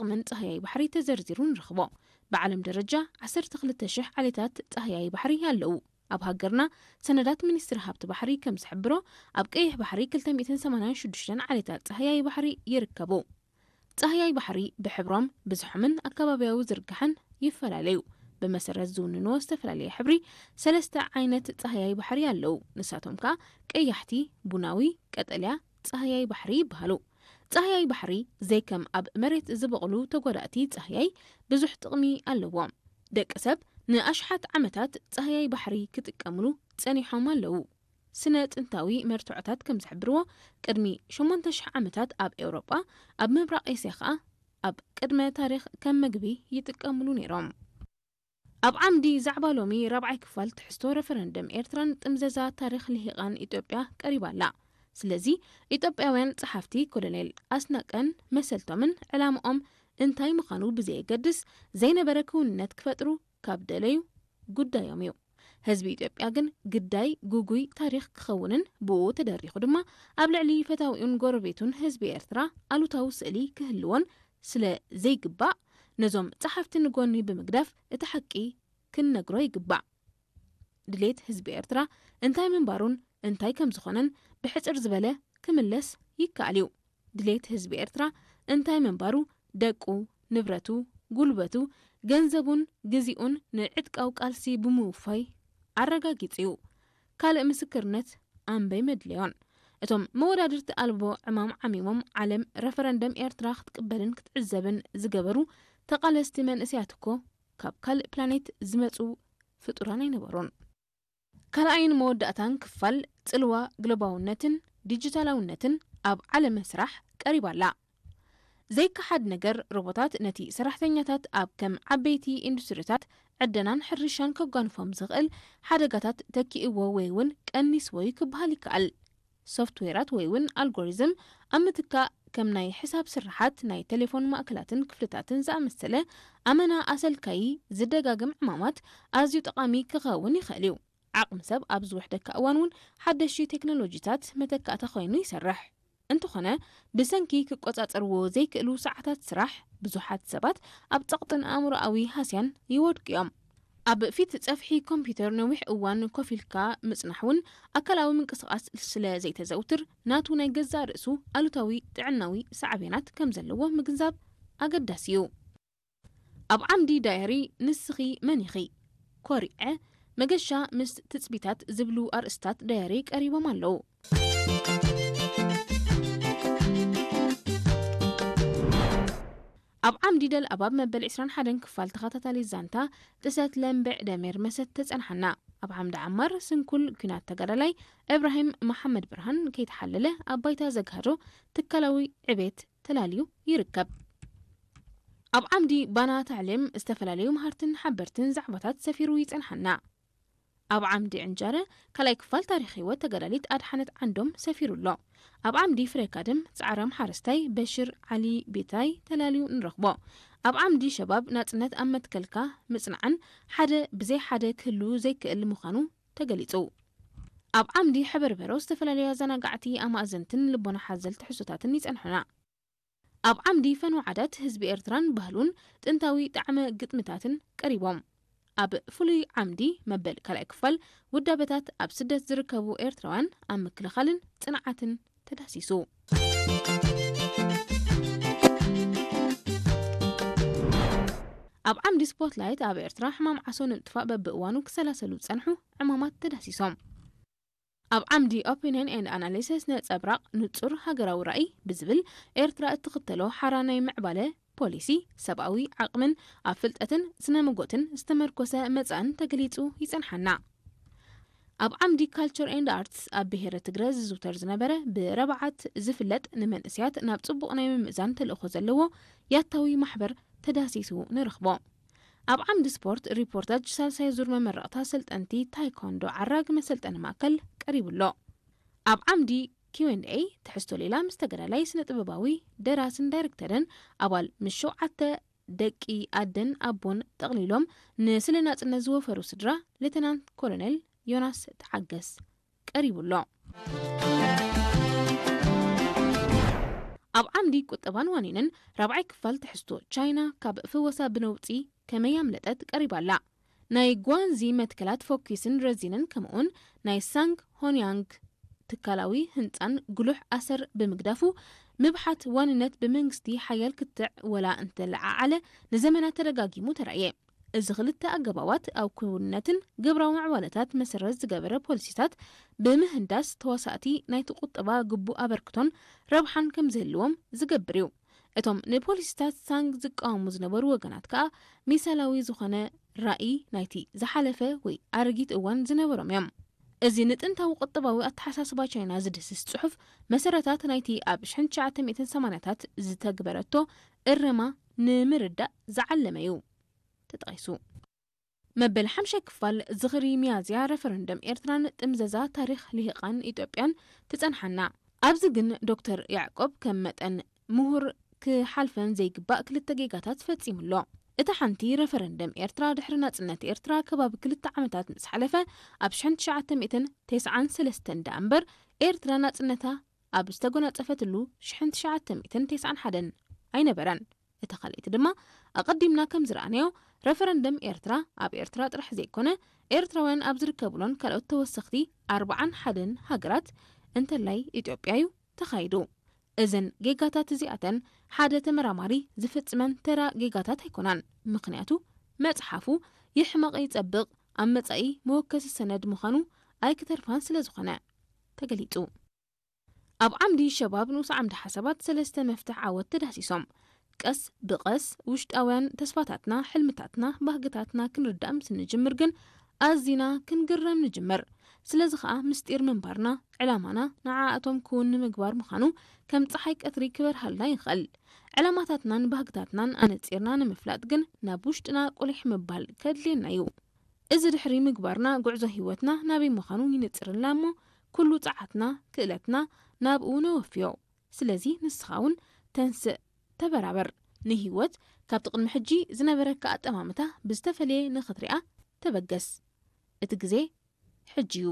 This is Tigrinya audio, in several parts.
ጥቕምን ጻህያይ ባሕሪ ተዘርዚሩ ንረኽቦ። ብዓለም ደረጃ ዓሰርተ ክልተ ሽሕ ዓሌታት ጻህያይ ባሕሪ ኣለዉ። ኣብ ሃገርና ሰነዳት ሚኒስትሪ ሃብቲ ባሕሪ ከም ዝሕብሮ፣ ኣብ ቀይሕ ባሕሪ ክልተ ሚእትን ሰማንያን ሽዱሽተን ዓሌታት ጻህያይ ባሕሪ ይርከቡ። ጻህያይ ባሕሪ ብሕብሮም፣ ብዝሖምን ኣከባቢያዊ ዝርግሐን ይፈላለዩ። ብመሰረት ዝውንንዎ ዝተፈላለየ ሕብሪ፣ ሰለስተ ዓይነት ጻህያይ ባሕሪ ኣለዉ። ንሳቶም ከኣ ቀያሕቲ፣ ቡናዊ፣ ቀጠልያ ጻህያይ ባሕሪ ይበሃሉ። ጻህያይ ባሕሪ ዘይከም ኣብ መሬት ዝበቕሉ ተጓዳእቲ ጻህያይ ብዙሕ ጥቕሚ ኣለዎ። ደቂ ሰብ ንኣሽሓት ዓመታት ጻህያይ ባሕሪ ክጥቀምሉ ጸኒሖም ኣለዉ። ስነ ጥንታዊ መርትዖታት ከም ዝሕብርዎ፣ ቅድሚ ሸሞንተ ሽሕ ዓመታት ኣብ ኤውሮጳ፣ ኣብ ምብራቕ ኤስያ ኸኣ ኣብ ቅድመ ታሪኽ ከም መግቢ ይጥቀምሉ ነይሮም። ኣብ ዓምዲ ዛዕባ ሎሚ ራብዓይ ክፋል ትሕዝቶ ረፈረንደም ኤርትራን ጥምዘዛ ታሪኽ ልሂቓን ኢትዮጵያ ቀሪባ ኣላ። ስለዚ ኢትዮጵያውያን ጸሓፍቲ ኮሎኔል ኣስናቀን መሰልቶምን ዕላምኦም እንታይ ምዃኑ ብዘየገድስ ዘይነበረ ክውንነት ክፈጥሩ ካብ ደለዩ ጉዳዮም እዩ። ህዝቢ ኢትዮጵያ ግን ግዳይ ጉጉይ ታሪኽ ክኸውንን ብኡ ተደሪኹ ድማ ኣብ ልዕሊ ፈታዊኡን ጎረቤቱን ህዝቢ ኤርትራ ኣሉታዊ ስእሊ ክህልዎን ስለ ዘይግባእ ነዞም ጸሓፍቲ ንጎኒ ብምግዳፍ እቲ ሓቂ ክንነግሮ ይግባእ። ድሌት ህዝቢ ኤርትራ እንታይ ምንባሩን እንታይ ከም ዝኾነን ብሕጽር ዝበለ ክምለስ ይከኣል እዩ። ድሌት ህዝቢ ኤርትራ እንታይ ምንባሩ ደቁ፣ ንብረቱ፣ ጉልበቱ፣ ገንዘቡን ግዜኡን ንዕጥቃዊ ቃልሲ ብምውፋይ ኣረጋጊጹ እዩ። ካልእ ምስክርነት ኣንበይ መድለዮን። እቶም መወዳድርቲ ኣልቦ ዕማም ዓሚሞም ዓለም ረፈረንደም ኤርትራ ክትቅበልን ክትዕዘብን ዝገበሩ ተቓለስቲ መንእሰያት እኮ ካብ ካልእ ፕላኔት ዝመጹ ፍጡራን ኣይነበሩን። ካልኣይን መወዳእታን ክፋል ጽልዋ ግሎባውነትን ዲጂታላውነትን ኣብ ዓለመ ስራሕ ቀሪባ ኣላ። ዘይከሓድ ነገር፣ ሮቦታት ነቲ ሰራሕተኛታት ኣብ ከም ዓበይቲ ኢንዱስትሪታት ዕደናን ሕርሻን ከጓንፎም ዝኽእል ሓደጋታት ተኪእዎ ወይ እውን ቀኒስዎ እዩ ክበሃል ይከኣል። ሶፍትዌራት ወይ እውን ኣልጎሪዝም ኣብ ምትካእ፣ ከም ናይ ሕሳብ ስርሓት፣ ናይ ቴሌፎን ማእከላትን ክፍልታትን ዝኣመሰለ ኣመና ኣሰልካዪ ዝደጋግም ዕማማት ኣዝዩ ጠቓሚ ክኸውን ይኽእል እዩ። ዓቕሚ ሰብ ኣብ ዝውሕደካ እዋን እውን ሓደሽቲ ቴክኖሎጂታት መተካእታ ኮይኑ ይሰርሕ። እንተኾነ፣ ብሰንኪ ክቆጻጸርዎ ዘይክእሉ ሰዓታት ስራሕ፣ ብዙሓት ሰባት ኣብ ጸቕጥን ኣእምሮኣዊ ሃስያን ይወድቁ እዮም። ኣብ ፊት ጸፍሒ ኮምፒውተር ነዊሕ እዋን ኮፍ ኢልካ ምጽናሕ እውን ኣካላዊ ምንቅስቓስ ስለ ዘይተዘውትር፣ ናቱ ናይ ገዛእ ርእሱ ኣሉታዊ ጥዕናዊ ሳዕቤናት ከም ዘለዎ ምግንዛብ ኣገዳሲ እዩ። ኣብ ዓምዲ ዳየሪ "ንስኺ መን ኢኺ?" "ኮሪዐ"፣ "መገሻ ምስ ትጽቢታት" ዝብሉ ኣርእስታት ዳየሪ ቀሪቦም ኣለዉ። ኣብ ዓምዲ ደልኣባብ መበል ዕስራን ሓደን ክፋል ተኸታታሊ ዛንታ ጥሰት ለምብዕ ደሜር መሰት ተጸንሓና። ኣብ ዓምዲ ዓማር ስንኩል ኲናት ተጋዳላይ እብራሂም መሓመድ ብርሃን ከይተሓለለ ኣብ ባይታ ዘግሃዶ ትካላዊ ዕቤት ተላልዩ ይርከብ። ኣብ ዓምዲ ባና ታዕሊም ዝተፈላለዩ መሃርትን ሓበርትን ዛዕባታት ሰፊሩ ይጸንሓና። ኣብ ዓምዲ ዕንጃረ ካልኣይ ክፋል ታሪኽ ህይወት ተጋዳሊት ኣድሓነት ዓንዶም ሰፊሩ ኣሎ። ኣብ ዓምዲ ፍሬ ካድም ጻዕራም ሓረስታይ በሽር ዓሊ ቤታይ ተላልዩ ንረኽቦ። ኣብ ዓምዲ ሸባብ ናጽነት ኣብ መትከልካ ምጽናዕን ሓደ ብዘይ ሓደ ክህሉ ዘይክእል ምዃኑ ተገሊጹ። ኣብ ዓምዲ ሕበርበሮ ዝተፈላለዩ ኣዘናጋዕቲ ኣማእዘንትን ልቦና ሓዘል ትሕዝቶታትን ይጸንሑና። ኣብ ዓምዲ ፈነወ ዓዳት ህዝቢ ኤርትራን ባህሉን ጥንታዊ ጣዕመ ግጥምታትን ቀሪቦም። ኣብ ፍሉይ ዓምዲ መበል ካልኣይ ክፋል ውዳበታት ኣብ ስደት ዝርከቡ ኤርትራውያን ኣብ ምክልኻልን ጽንዓትን ተዳሲሱ። ኣብ ዓምዲ ስፖትላይት ኣብ ኤርትራ ሕማም ዓሶ ንምጥፋእ በብእዋኑ ክሰላሰሉ ዝጸንሑ ዕማማት ተዳሲሶም። ኣብ ዓምዲ ኦፒንየን ኤንድ ኣናሊሲስ ነጸብራቕ ንጹር ሃገራዊ ራእይ ብዝብል ኤርትራ እትኽተሎ ሓራ ናይ ምዕባለ ፖሊሲ ሰብኣዊ ዓቕምን ኣብ ፍልጠትን ስነ መጎትን ዝተመርኮሰ መጻእን ተገሊጹ ይጸንሓና። ኣብ ዓምዲ ካልቸር ኤንድ ኣርትስ ኣብ ብሄረ ትግረ ዝዝውተር ዝነበረ ብረብዓት ዝፍለጥ ንመንእሰያት ናብ ጽቡቕ ናይ ምምእዛን ተልእኾ ዘለዎ ያታዊ ማሕበር ተዳሲሱ ንረኽቦ። ኣብ ዓምዲ ስፖርት ሪፖርታጅ ሳልሳይ ዙር መመረቕታ ሰልጠንቲ ታይኮንዶ ዓራግ መሰልጠኒ ማእከል ቀሪቡ ኣሎ። ኣብ ዓምዲ ኪው ኤንድ ኤይ ትሕዝቶ ሌላ ምስ ተጋዳላይ ስነ ጥበባዊ ደራስን ዳይሬክተርን ኣባል ምስ ሸውዓተ ደቂ ኣደን ኣቦን ጠቕሊሎም ንስለ ናጽነት ዝወፈሩ ስድራ ሌተናንት ኮሎኔል ዮናስ ተዓገስ ቀሪቡ ኣሎ። ኣብ ዓምዲ ቁጠባን ዋኒንን ራብዓይ ክፋል ትሕዝቶ፣ ቻይና ካብ ፍወሳ ብነውጺ ከመይ ኣምለጠት ቀሪባ ኣላ። ናይ ጓንዚ መትከላት ፎኪስን ረዚንን ከምኡውን ናይ ሳንግ ሆንያንግ ትካላዊ ህንጻን ጉሉሕ ኣሰር ብምግዳፉ፣ ምብሓት ዋንነት ብመንግስቲ ሓያል ክትዕ ወላ እንተለዓዓለ ንዘመናት ተደጋጊሙ ተራእየ። እዚ ክልተ ኣገባባት ኣብ ክውንነትን ግብራዊ ምዕባለታት መሰረት ዝገበረ ፖሊሲታት ብምህንዳስ ተዋሳእቲ ናይቲ ቁጠባ ግቡእ ኣበርክቶን ረብሓን ከም ዝህልዎም ዝገብር እዩ። እቶም ንፖሊሲታት ሳንግ ዝቃወሙ ዝነበሩ ወገናት ከኣ ሚሳላዊ ዝኾነ ራእይ ናይቲ ዝሓለፈ ወይ ኣረጊት እዋን ዝነበሮም እዮም። እዚ ንጥንታዊ ቁጠባዊ ኣተሓሳስባ ቻይና ዝድህስስ ጽሑፍ መሰረታት ናይቲ ኣብ ሽሕን ትሽዓተ ሚእትን ሰማንያታት ዝተግበረቶ እረማ ንምርዳእ ዝዓለመ እዩ ተጠቒሱ። መበል ሓምሻይ ክፋል ዝኽሪ ሚያዝያ ረፈረንደም ኤርትራን ጥምዘዛ ታሪኽ ልሂቓን ኢትዮጵያን ትጸንሓና። ኣብዚ ግን ዶክተር ያዕቆብ ከም መጠን ምሁር ክሓልፈን ዘይግባእ ክልተ ጌጋታት ፈጺሙ ኣሎ። እታ ሓንቲ፣ ረፈረንደም ኤርትራ ድሕሪ ናጽነት ኤርትራ ከባቢ ክልተ ዓመታት ምስ ሓለፈ፣ ኣብ ሽሕን ትሽዓተ ሚእትን ተስዓን ሰለስተን ደኣ እምበር ኤርትራ ናጽነታ ኣብ ዝተጎናጸፈትሉ ሽሕን ትሽዓተ ሚእትን ተስዓን ሓደን ኣይነበረን። እታ ካልኣይቲ ድማ፣ ኣቐዲምና ከም ዝረኣናዮ፣ ረፈረንደም ኤርትራ ኣብ ኤርትራ ጥራሕ ዘይኮነ፣ ኤርትራውያን ኣብ ዝርከቡሎን ካልኦት ተወሰኽቲ ኣርብዓን ሓደን ሃገራት፣ እንተላይ ኢትዮጵያ እዩ ተኻይዱ። እዘን ጌጋታት እዚኣተን ሓደ ተመራማሪ ዝፍጽመን ተራ ጌጋታት ኣይኮናን። ምኽንያቱ፣ መጽሓፉ ይሕመቕ ይጸብቕ፣ ኣብ መጻኢ መወከሲ ሰነድ ምዃኑ ኣይክተርፋን ስለ ዝኾነ ተገሊጹ። ኣብ ዓምዲ ሸባብ ንኡስ ዓምዲ ሓሳባት ሰለስተ መፍትሕ ዓወት ተዳህሲሶም። ቀስ ብቐስ ውሽጣውያን ተስፋታትና፣ ሕልምታትና፣ ባህግታትና ክንርዳእ ምስ ንጅምር ግን ኣዚና ክንግረም ንጅምር። ስለዚ ኸኣ ምስጢር ምንባርና፣ ዕላማና ንዓኣቶም ክውን ንምግባር ምዃኑ ከም ጸሓይ ቀትሪ ክበርሃልና ይኽእል። ዕላማታትናን ባህግታትናን ኣነጺርና ንምፍላጥ ግን ናብ ውሽጥና ቁሊሕ ምባል ከድልየና እዩ። እዚ ድሕሪ ምግባርና፣ ጉዕዞ ህይወትና ናበይ ምዃኑ ይንጽርላ እሞ፣ ኩሉ ጸዓትና፣ ክእለትና ናብኡ ነወፍዮ። ስለዚ ንስኻ እውን ተንስእ፣ ተበራበር። ንህይወት ካብቲ ቅድሚ ሕጂ ዝነበረካ ኣጠማምታ ብዝተፈለየ ንኽትሪኣ ተበገስ። እቲ ግዜ ሕጂ እዩ።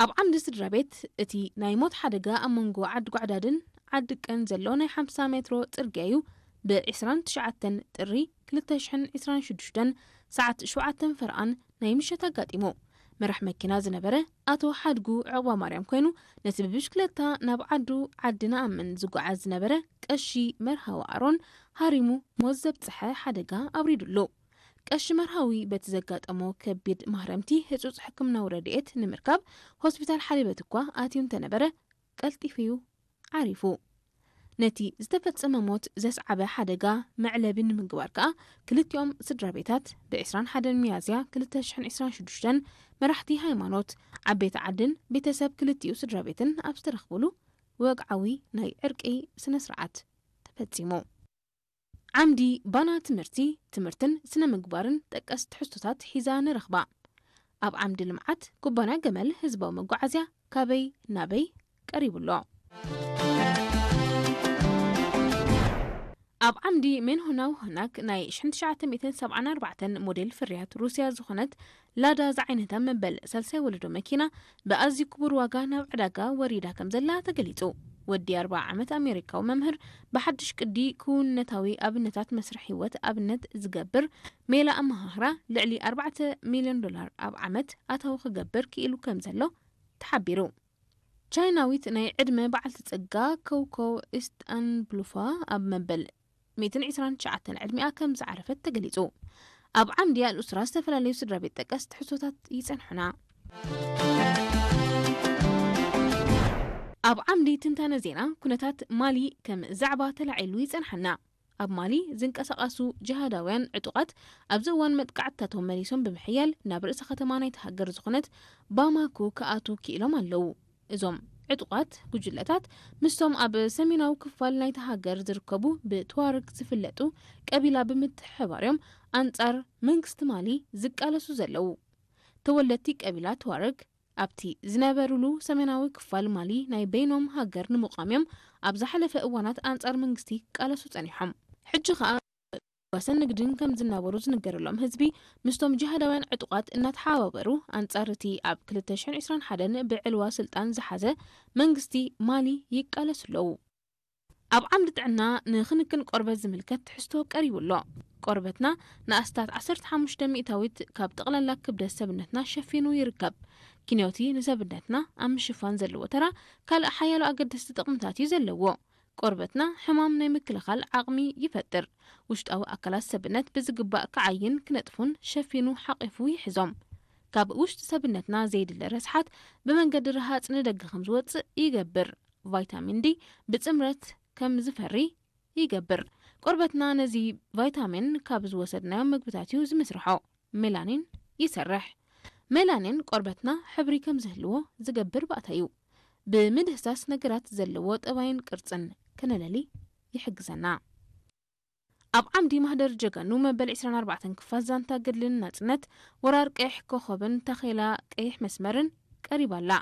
ኣብ ዓምዲ ስድራ ቤት፣ እቲ ናይ ሞት ሓደጋ ኣብ መንጎ ዓዲ ጓዕዳድን ዓዲ ቀን ዘሎ ናይ ሓምሳ ሜትሮ ጽርግያ እዩ። ብ ዕስራን ትሽዓተን ጥሪ ክልተ ሽሕን ዕስራን ሽዱሽተን ሰዓት ሸውዓተን ፈረቓን ናይ ምሸት ኣጋጢሙ። መራሕ መኪና ዝነበረ ኣቶ ሓድጉ ዕቑባ ማርያም ኮይኑ፣ ነቲ ብብሽክለታ ናብ ዓዱ ዓዲ ንኣምን ዝጓዓዝ ዝነበረ ቀሺ መርሃዊ ኣሮን ሃሪሙ ሞት ዘብጽሐ ሓደጋ ኣውሪዱሉ። ቀሺ መርሃዊ በቲ ዘጋጠሞ ከቢድ ማህረምቲ ህጹጽ ሕክምናዊ ረድኤት ንምርካብ ሆስፒታል ሓሊበት እኳ ኣትዩ እንተነበረ፣ ቀልጢፉ እዩ ዓሪፉ። ነቲ ዝተፈጸመ ሞት ዘስዓበ ሓደጋ መዕለቢ ንምግባር ከኣ፣ ክልቲኦም ስድራ ቤታት ብ ዕስራን ሓደን ሚያዝያ ክልተ ሽሕን ዕስራን ሽዱሽተን መራሕቲ ሃይማኖት፣ ዓበይቲ ዓድን ቤተሰብ ክልቲኡ ስድራ ቤትን ኣብ ዝተረኽብሉ ወግዓዊ ናይ ዕርቂ ስነ ስርዓት ተፈጺሙ። ዓምዲ ባና ትምህርቲ፣ ትምህርትን ስነ ምግባርን ጠቀስ ትሕዝቶታት ሒዛ ንረኽባ። ኣብ ዓምዲ ልምዓት፣ ኩባንያ ገመል ህዝባዊ መጓዓዝያ ካበይ ናበይ ቀሪቡ ኣሎ። ኣብ ዓምዲ ሜንሆናው ሆናክ ናይ ሽሕን ትሽዓተ ሚእትን ሰብዓን ኣርባዕተን ሞዴል ፍርያት ሩስያ ዝኾነት ላዳ ዝዓይነታ መበል ሳልሳይ ወለዶ መኪና ብኣዝዩ ክቡር ዋጋ ናብ ዕዳጋ ወሪዳ ከም ዘላ ተገሊጹ። ወዲ ኣርብዓ ዓመት ኣሜሪካዊ መምህር ብሓድሽ ቅዲ ክውንነታዊ ኣብነታት መስርሕ ህይወት ኣብነት ዝገብር ሜላ ኣመሃህራ ልዕሊ ኣርባዕተ ሚልዮን ዶላር ኣብ ዓመት ኣታዊ ክገብር ክኢሉ ከም ዘሎ ተሓቢሩ። ቻይናዊት ናይ ዕድመ በዓልቲ ጸጋ ኮውኮው ኢስታንብሉፋ ኣብ መበል ሚእትን ዕስራን ትሽዓተን ዕድሚኣ ከም ዝዓረፈት ተገሊጹ። ኣብ ዓምዲ ኣልኡስራ ዝተፈላለዩ ስድራ ቤት ጠቀስ ትሕዝቶታት ይጸንሑና። ኣብ ዓምዲ ትንታነ ዜና፣ ኩነታት ማሊ ከም ዛዕባ ተላዒሉ ይጸንሓና። ኣብ ማሊ ዝንቀሳቐሱ ጅሃዳውያን ዕጡቓት ኣብዚ እዋን መጥቃዕትታቶም መሊሶም ብምሕያል ናብ ርእሰ ከተማ ናይቲ ሃገር ዝኾነት ባማኮ ክኣትዉ ክኢሎም ኣለዉ። እዞም ዕጡቓት ጉጅለታት ምስቶም ኣብ ሰሜናዊ ክፋል ናይቲ ሃገር ዝርከቡ ብትዋርግ ዝፍለጡ ቀቢላ ብምትሕብባር እዮም ኣንጻር መንግስቲ ማሊ ዝቃለሱ ዘለዉ። ተወለድቲ ቀቢላ ትዋርግ ኣብቲ ዝነበሩሉ ሰሜናዊ ክፋል ማሊ ናይ በይኖም ሃገር ንምቋም እዮም ኣብ ዝሓለፈ እዋናት ኣንጻር መንግስቲ ክቃለሱ ጸኒሖም። ሕጂ ኸኣ ወሰን ንግድን ከም ዝናበሩ ዝንገረሎም ህዝቢ ምስቶም ጅሃዳውያን ዕጡቓት እናተሓባበሩ ኣንጻር እቲ ኣብ ክልተ ሽሕን ዕስራን ሓደን ብዕልዋ ስልጣን ዝሓዘ መንግስቲ ማሊ ይቃለሱ ኣለዉ። ኣብ ዓምዲ ጥዕና ንክንክን ቆርበት ዝምልከት ትሕዝቶ ቀሪቡ ኣሎ። ቆርበትና ንኣስታት ዓሰርተ ሓሙሽተ ሚእታዊት ካብ ጠቕላላ ክብደት ሰብነትና ሸፊኑ ይርከብ። ኪንዮቲ ንሰብነትና ኣብ ምሽፋን ዘለዎ ተራ ካልእ ሓያሎ ኣገደስቲ ጥቕምታት እዩ ዘለዎ። ቆርበትና ሕማም ናይ ምክልኻል ዓቕሚ ይፈጥር። ውሽጣዊ ኣካላት ሰብነት ብዝግባእ ክዓይን ክነጥፉን ሸፊኑ ሓቒፉ ይሕዞም። ካብ ውሽጢ ሰብነትና ዘይድለ ረስሓት ብመንገዲ ረሃፅ ንደገ ከም ዝወፅእ ይገብር። ቫይታሚን ዲ ብፅምረት ከም ዝፈሪ ይገብር። ቆርበትና ነዚ ቫይታሚን ካብ ዝወሰድናዮም ምግብታት እዩ ዝምስርሖ። ሜላኒን ይሰርሕ። ሜላኒን ቆርበትና ሕብሪ ከም ዝህልዎ ዝገብር ባእታ እዩ። ብምድህሳስ ነገራት ዘለዎ ጠባይን ቅርጽን ከነለሊ ይሕግዘና። ኣብ ዓምዲ ማህደር ጀጋኑ መበል ዕስራን ኣርባዕተን ክፋል ዛንታ ገድልን ናጽነት ወራር ቀይሕ ኮኸብን ታኼላ ቀይሕ መስመርን ቀሪባ ኣላ።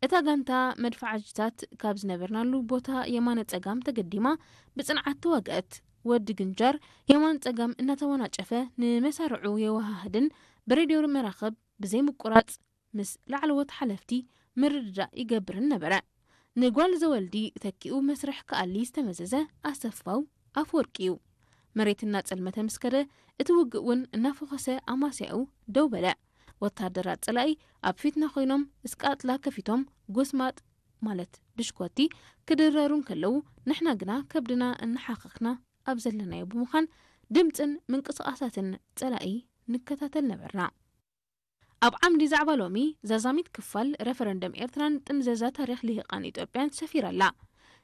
እታ ጋንታ መድፈዓጅታት ካብ ዝነበርናሉ ቦታ የማነ ጸጋም ተገዲማ ብጽንዓት ተዋግአት። ወዲ ግንጃር የማን ጸጋም እናተወናጨፈ ንመሳርዑ የወሃህድን ብሬድዮ መራኸብ ብዘይ ምቁራጽ ምስ ላዕለዎት ሓለፍቲ ምርድዳእ ይገብርን ነበረ። ንጓል ዘወልዲ ተኪኡ መስርሕ ክኣሊ ዝተመዘዘ ኣሰፋው ኣፈወርቂ እዩ። መሬት እናጸልመተ ምስ ከደ፣ እቲ ውግእ እውን እናፈኾሰ ኣማስያኡ ደው በለ። ወታደራት ጸላኢ ኣብ ፊትና ኮይኖም እስቃጥላ ከፊቶም ጎስማጥ ማለት ብሽኮቲ ክድረሩ እንከለዉ፣ ንሕና ግና ከብድና እናሓኸኽና ኣብ ዘለናዮ ብምዃን ድምጽን ምንቅስቓሳትን ጸላኢ ንከታተል ነበርና። ኣብ ዓምዲ ዛዕባ ሎሚ ዛዛሚት ክፋል ረፈረንደም ኤርትራን ጥምዘዛ ታሪኽ ልሂቓን ኢትዮጵያን ሰፊራ ኣላ።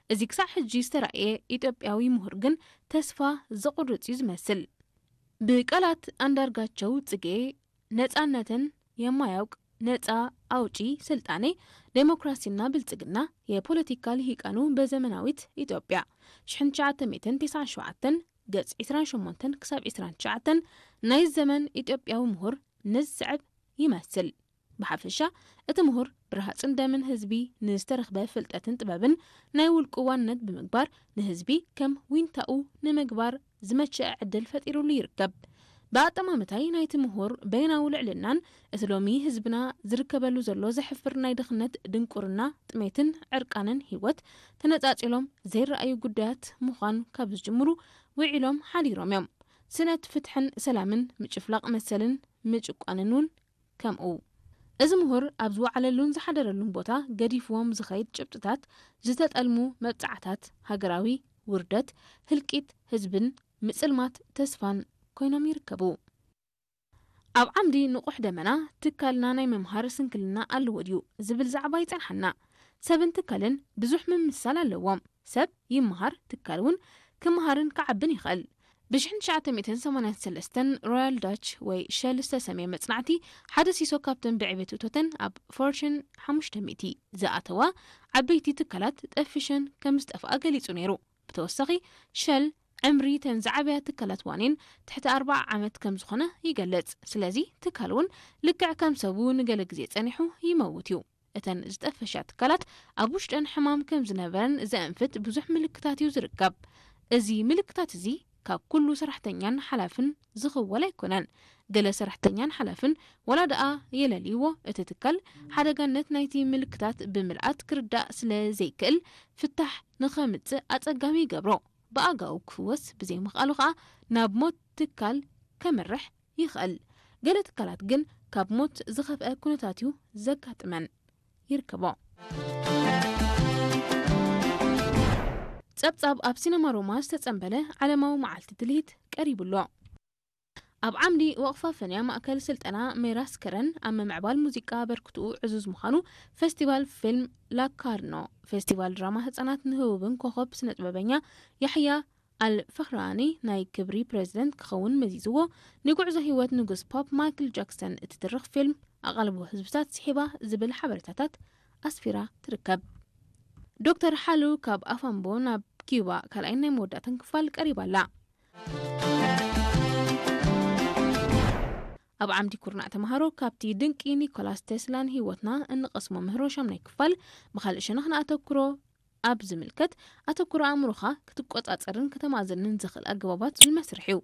እዚ ክሳዕ ሕጂ ዝተራእየ ኢትዮጵያዊ ምሁር ግን ተስፋ ዘቑርጽ እዩ ዝመስል። ብቃላት ኣንዳርጋቸው ጽጌ ነጻነትን የማያውቅ ነጻ ኣውጪ ስልጣኔ ዴሞክራሲና ብልጽግና የፖለቲካ ልሂቃኑ በዘመናዊት ኢትዮጵያ ሽሕን ትሽዓተ ሚእትን ተስዓን ሸውዓተን ገጽ ዕስራን ሸሞንተን ክሳብ ዕስራን ትሽዓተን ናይ ዘመን ኢትዮጵያዊ ምሁር ነዚ ዝስዕብ ይመስል። ብሓፈሻ እቲ ምሁር ብረሃጽን ደምን ህዝቢ ንዝተረኽበ ፍልጠትን ጥበብን ናይ ውልቁ ዋንነት ብምግባር ንህዝቢ ከም ዊንታኡ ንምግባር ዝመቸአ ዕድል ፈጢሩሉ ይርከብ። ብኣጠማምታይ ናይቲ ምሁር በይናዊ ልዕልናን እቲ ሎሚ ህዝብና ዝርከበሉ ዘሎ ዘሕፍር ናይ ድኽነት፣ ድንቁርና፣ ጥሜትን ዕርቃንን ህይወት ተነጻጺሎም ዘይረኣዩ ጉዳያት ምዃን ካብ ዝጅምሩ ውዒሎም ሓዲሮም እዮም። ስእነት ፍትሕን ሰላምን፣ ምጭፍላቕ መሰልን ምጭቋንን እውን ከምኡ። እዚ ምሁር ኣብ ዝወዓለሉን ዝሓደረሉን ቦታ ገዲፍዎም ዝኸይድ ጭብጥታት፣ ዝተጠልሙ መብጽዓታት፣ ሃገራዊ ውርደት፣ ህልቂት ህዝብን ምጽልማት ተስፋን ኮይኖም ይርከቡ። ኣብ ዓምዲ ንቑሕ ደመና ትካልና ናይ ምምሃር ስንክልና ኣለዎ ድዩ ዝብል ዛዕባ ይጸንሓና። ሰብን ትካልን ብዙሕ ምምስሳል ኣለዎም። ሰብ ይመሃር፣ ትካል እውን ክመሃርን ክዓብን ይኽእል። ብ ሽሕን ትሽዓተ ሚእትን ሰማንያን ሰለስተን ሮያል ዳች ወይ ሸል ዝተሰምየ መጽናዕቲ፣ ሓደ ሲሶ ካብተን ብዕቤት እቶተን ኣብ ፎርችን ሓሙሽተ ሚእቲ ዝኣተዋ ዓበይቲ ትካላት ጠፊሸን ከም ዝጠፍኣ ገሊጹ ነይሩ። ብተወሳኺ፣ ሸል ዕምሪ ተን ዝዓበያ ትካላት ዋኒን ትሕቲ ኣርብዓ ዓመት ከም ዝኾነ ይገልጽ። ስለዚ፣ ትካል እውን ልክዕ ከም ሰቡ ንገለ ግዜ ጸኒሑ ይመውት እዩ። እተን ዝጠፈሻ ትካላት ኣብ ውሽጠን ሕማም ከም ዝነበረን ዘእንፍት ብዙሕ ምልክታት እዩ ዝርከብ። እዚ ምልክታት እዚ ካብ ኩሉ ሰራሕተኛን ሓላፍን ዝኽወል ኣይኮነን። ገለ ሰራሕተኛን ሓላፍን ዋላ ደኣ የለልይዎ፣ እቲ ትካል ሓደጋነት ናይቲ ምልክታት ብምልኣት ክርዳእ ስለ ዘይክእል፣ ፍታሕ ንኸምጽእ ኣጸጋሚ ይገብሮ። ብኣጋኡ ክፍወስ ብዘይምኽኣሉ ኸኣ ናብ ሞት ትካል ከምርሕ ይኽእል። ገለ ትካላት ግን ካብ ሞት ዝኸፍአ ኩነታት እዩ ዘጋጥመን። ይርከቦ። ጸብጻብ ኣብ ሲነማ ሮማ ዝተጸንበለ ዓለማዊ መዓልቲ ትልሂት ቀሪቡ ኣሎ። ኣብ ዓምዲ ወቕፋ ፈንያ ማእከል ስልጠና ሜራስ ከረን ኣብ ምምዕባል ሙዚቃ ኣበርክትኡ ዕዙዝ ምዃኑ ፈስቲቫል ፊልም ላካርኖ፣ ፈስቲቫል ድራማ ህጻናት ንህቡብን ኮኸብ ስነ ጥበበኛ ያሕያ ኣል ፈኽራኒ ናይ ክብሪ ፕሬዝደንት ክኸውን መዚዝዎ። ንጉዕዞ ህይወት ንጉስ ፖፕ ማይክል ጃክሰን እትትርኽ ፊልም ኣቓልቦ ህዝብታት ስሒባ ዝብል ሓበሬታታት ኣስፊራ ትርከብ። ዶክተር ሓሉ ካብ ኣፋምቦ ናብ ኪዩባ ካልኣይን ናይ መወዳእታን ክፋል ቀሪባ ኣላ። ኣብ ዓምዲ ኩርናዕ ተምሃሮ ካብቲ ድንቂ ኒኮላስ ቴስላን ህይወትና እንቐስሞ ምህሮ ሻምናይ ክፋል ብኻልእ ሸነኽ ንኣተኩሮ ኣብ ዝምልከት ኣተኩሮ ኣእምሮኻ ክትቆጻጸርን ከተማእዝንን ዝኽእል ኣገባባት ዝመስርሕ እዩ።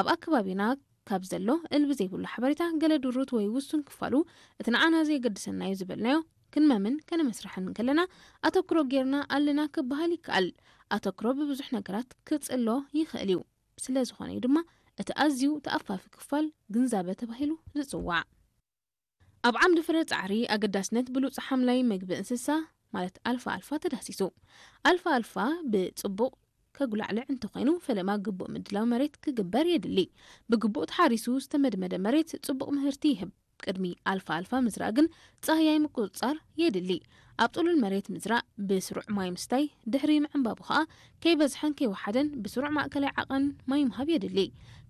ኣብ ኣከባቢና ካብ ዘሎ እልቢ ዘይብሉ ሓበሬታ ገለ ድሩት ወይ ውሱን ክፋሉ እቲ ንዓና ዘየገድሰና እዩ ዝበልናዮ ክንመምን ከነመስርሕን ከለና ኣተክሮ ጌርና ኣለና ክበሃል ይከኣል። ኣተክሮ ብብዙሕ ነገራት ክጽሎ ይኽእል እዩ። ስለ ዝኾነ እዩ ድማ እቲ ኣዝዩ ተኣፋፊ ክፋል ግንዛበ ተባሂሉ ዝጽዋዕ። ኣብ ዓምዲ ፍረ ጻዕሪ ኣገዳስነት ብሉጽ ሓምላይ መግቢ እንስሳ ማለት ኣልፋ ኣልፋ ተዳሲሱ። ኣልፋ ኣልፋ ብጽቡቕ ከጉላዕልዕ እንተኾይኑ ፈለማ ግቡእ ምድላው መሬት ክግበር የድሊ። ብግቡእ ተሓሪሱ ዝተመድመደ መሬት ጽቡቕ ምህርቲ ይህብ። ቅድሚ ኣልፋ ኣልፋ ምዝራእ ግን ጻህያይ ምቁጽጻር የድሊ። ኣብ ጥሉል መሬት ምዝራእ ብስሩዕ ማይ ምስታይ ድሕሪ ምዕንባቡ ኸኣ ከይበዝሐን ከይወሓደን ብስሩዕ ማእከላይ ዓቐን ማይ ምሃብ የድሊ።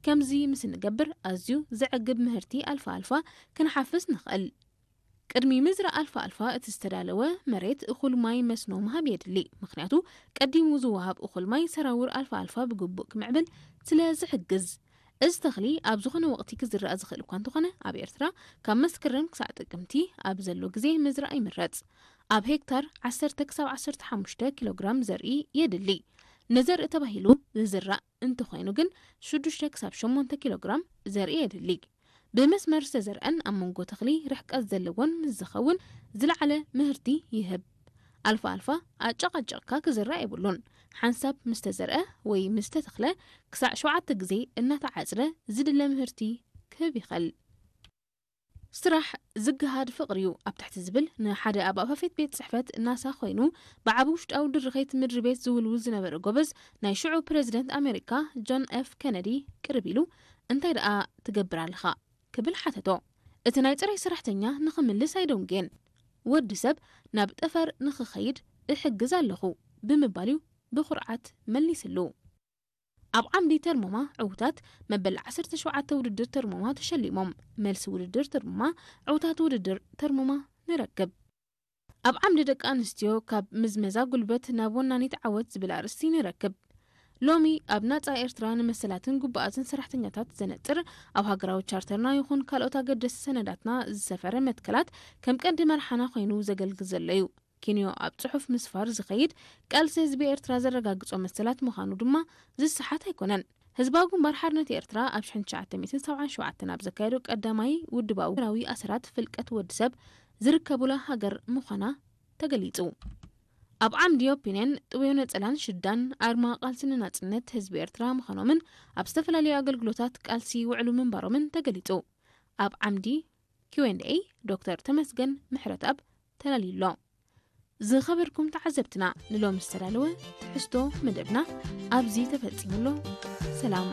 ከምዚ ምስ እንገብር ኣዝዩ ዘዕግብ ምህርቲ ኣልፋ ኣልፋ ክንሓፍስ ንኽእል። ቅድሚ ምዝራእ ኣልፋ ኣልፋ እቲ ዝተዳለወ መሬት እኹል ማይ መስኖ ምሃብ የድሊ። ምኽንያቱ ቀዲሙ ዝወሃብ እኹል ማይ ሰራውር ኣልፋ ኣልፋ ብግቡእ ክምዕብል ስለ ዝሕግዝ። እዚ ተኽሊ ኣብ ዝኾነ ወቕቲ ክዝራእ ዝኽእል እኳ እንተኾነ ኣብ ኤርትራ ካብ መስከረም ክሳዕ ጥቅምቲ ኣብ ዘሎ ግዜ ምዝራእ ይምረጽ። ኣብ ሄክታር ዓሰርተ ክሳብ ዓሰርተ ሓሙሽተ ኪሎ ግራም ዘርኢ የድሊ። ንዘርኢ ተባሂሉ ዝዝራእ እንተኾይኑ ግን ሽዱሽተ ክሳብ ሸሞንተ ኪሎ ግራም ዘርኢ የድሊ። ብመስመር ዝተዘርአን ኣብ መንጎ ተኽሊ ርሕቀት ዘለዎን ምስ ዝኸውን ዝለዓለ ምህርቲ ይህብ። ኣልፋ ኣልፋ ኣጨቓጨቕካ ክዝራእ የብሉን። ሓንሳብ ምስ ተዘርአ ወይ ምስ ተተኽለ ክሳዕ ሸውዓተ ግዜ እናተዓጽደ ዝድለ ምህርቲ ክህብ ይኽእል። ስራሕ ዝግሃድ ፍቕሪ እዩ ኣብ ትሕቲ ዝብል ንሓደ ኣብ ኣፋፌት ቤት ጽሕፈት ናሳ ኮይኑ ብዓቢ ውሽጣዊ ድርኸት ምድሪ ቤት ዝውልውል ዝነበረ ጎበዝ ናይ ሽዑ ፕረዚደንት ኣሜሪካ ጆን ኤፍ ኬነዲ ቅርብ ኢሉ እንታይ ደኣ ትገብር ኣለኻ ክብል ሓተቶ። እቲ ናይ ጽሬት ሰራሕተኛ ንኽምልስ ኣይደንጉየን። ወዲ ሰብ ናብ ጠፈር ንኽኸይድ እሕግዝ ኣለኹ ብምባል እዩ ብኹርዓት መሊስሉ። ኣብ ዓምዲ ተርሞማ ዕውታት መበል ዓሰርተ ሸውዓተ ውድድር ተርሞማ ተሸሊሞም። መልሲ ውድድር ተርሞማ ዕውታት ውድድር ተርሞማ ንረክብ። ኣብ ዓምዲ ደቂ ኣንስትዮ ካብ ምዝመዛ ጉልበት ናብ ወናኒት ዓወት ዝብል ኣርእስቲ ንረክብ። ሎሚ ኣብ ናጻ ኤርትራ ንመሰላትን ግቡኣትን ሰራሕተኛታት ዘነጥር ኣብ ሃገራዊ ቻርተርና ይኹን ካልኦት ኣገደስቲ ሰነዳትና ዝሰፈረ መትከላት ከም ቀንዲ መርሓና ኮይኑ ዘገልግል ዘሎ እዩ። ኪንዮ ኣብ ጽሑፍ ምስፋር ዝኸይድ ቃልሲ ህዝቢ ኤርትራ ዘረጋግጾ መሰላት ምዃኑ ድማ ዝሰሓት ኣይኮነን። ህዝባዊ ግንባር ሓርነት ኤርትራ ኣብ ሽሕን ትሽዓተ ሚእትን ሰብዓን ሸውዓተን ኣብ ዘካየዶ ቀዳማይ ውድባዊ ሃገራዊ ኣሰራት ፍልቀት ወዲ ሰብ ዝርከቡላ ሃገር ምዃና ተገሊጹ። ኣብ ዓምዲ ኦፒንየን ጥውዮ ነጸላን ሽዳን ኣርማ ቃልሲ ንናጽነት ህዝቢ ኤርትራ ምዃኖምን ኣብ ዝተፈላለዩ ኣገልግሎታት ቃልሲ ይውዕሉ ምንባሮምን ተገሊጹ። ኣብ ዓምዲ ኪው ኤንድ ኤይ ዶክተር ተመስገን ምሕረትኣብ ተላልዩሎ። ዝኸበርኩም ተዓዘብትና ንሎሚ ዝተዳለወ ትሕዝቶ መደብና ኣብዚ ተፈጺሙሎ። ሰላም።